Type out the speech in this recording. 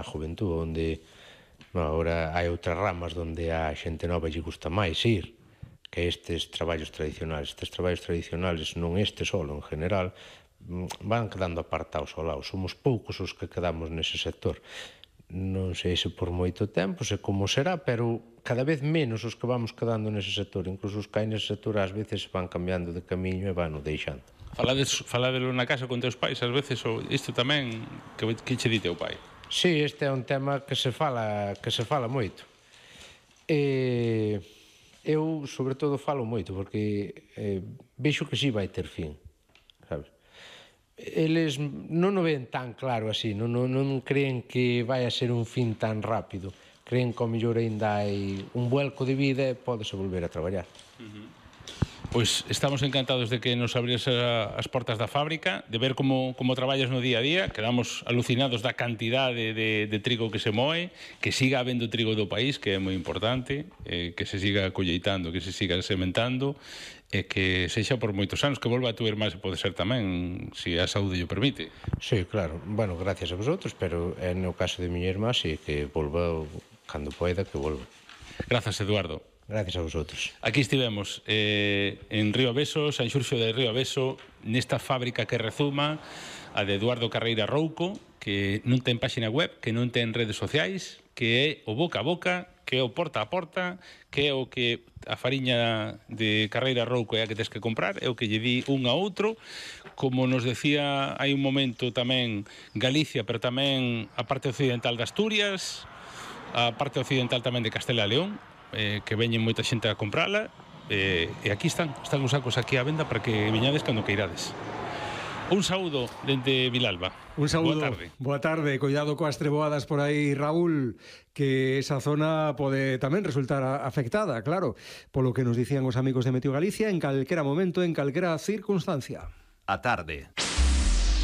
a juventud, onde agora hai outras ramas onde a xente nova lle gusta máis ir que estes traballos tradicionais. Estes traballos tradicionales, non este solo, en general, van quedando apartados ao lado. Somos poucos os que quedamos nese sector. Non sei se por moito tempo, se como será, pero cada vez menos os que vamos quedando nese sector. Incluso os que hai nese sector ás veces van cambiando de camiño e van o deixando. Faladelo na casa con teus pais ás veces, ou isto tamén, que che di teu pai? Sí, este é un tema que se fala moito. Eu, sobre todo, falo moito, porque vexo que si vai ter fin, sabes? Eles non o ven tan claro así, non creen que vai a ser un fin tan rápido. Creen que ao mellor ainda hai un vuelco de vida e pódese volver a traballar. Pois estamos encantados de que nos abrires as portas da fábrica, de ver como traballas no día a día. Quedamos alucinados da cantidade de trigo que se moe, que siga habendo trigo do país, que é moi importante, que se siga colleitando, que se siga sementando, e que sexa por moitos anos, que volva a tu irmá se pode ser tamén, se a saúde o permite. Sí, claro. Bueno, gracias a vosotros, pero no caso de miña irmá, sí, que volva cando poida, que volva. Grazas, Eduardo. Gracias a vosotros. Aquí estivemos en Río Aveso, San Xurxo de Río Aveso, nesta fábrica que rezuma, a de Eduardo Carreira Rouco, que non ten páxina web, que non ten redes sociais, que é o boca a boca, que é o porta a porta, que é o que a fariña de Carreira Rouco é a que tens que comprar, é o que lle di un a outro. Como nos decía hai un momento tamén Galicia, pero tamén a parte occidental de Asturias, a parte occidental tamén de Castela e León, que veñen moita xente a comprala, e aquí están os sacos aquí á venda para que viñades cando queirades. Un saúdo dende Vilalba. Un saúdo. Boa tarde. Cuidado coas treboadas por aí, Raúl, que esa zona pode tamén resultar afectada, claro, polo que nos dicían os amigos de Meteo Galicia, en calquera momento, en calquera circunstancia. A tarde.